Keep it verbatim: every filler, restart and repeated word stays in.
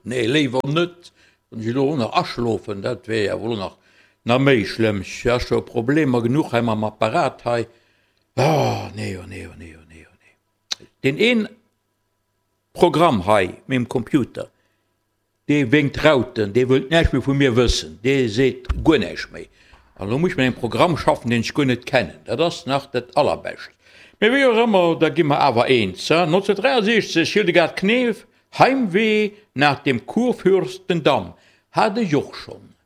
Nee, léiwer net. Wann ech elo och nach aschlofen, dat wär jo wuel nach nach méi schlëmm. Ech ha scho Problemer genuch hei mam Apparat hei. Oh, nee, oh nee, oh nee, oh nee, oh nee. Deen een Programm hei mengem Computer, dee wénkt Rauten, dee wëllt näischt méi vu mir wëssen, dee seet guer näischt méi. An elo muss ech mat engem Programm schaffen, deen ech guer net kennen. Dat ass nach dat Allerbescht. Mee wéi och ëmmer, da gi mer awer eens. nonzénhunnertdräiasechzeg, Hildegard Knef, Heimweh nach dem Kurfürstendamm, hat ech och schonn.